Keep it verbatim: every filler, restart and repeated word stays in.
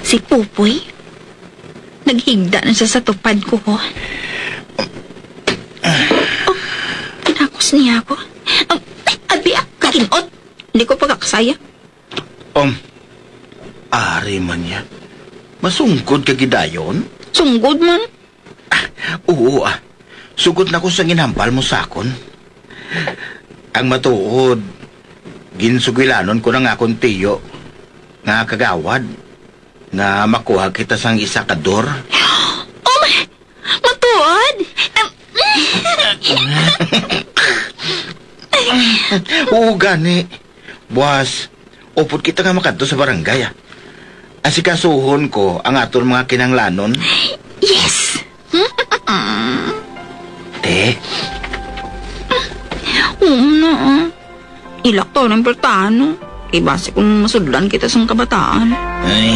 Si Pupoy, naghigda na siya sa tupad ko, ho. Oh, kinakos niya ako. Oh, ay, abi, ah, kakinot. Hindi ko pagkaksaya. Um, ari man niya. Masungkod ka gidayon? Sunggod man. Oo, ah. Sugot na ko sa ginhambal mo sa akon. Ang matuod, ginsugilanon ko na nga akon tiyo nga kagawad nga makuha kita sang isa ka dor. Oh, my! Matuod? Em, Oo, gani. Buwas, upod kita nga makadto sa barangay, ah. Asikasuhon ko ang aton mga kinahanglanon. Yes! Te. Oo na, ah. Ilak to ng pertano. Kay basi kung masudlan kita sang kabataan. Ay.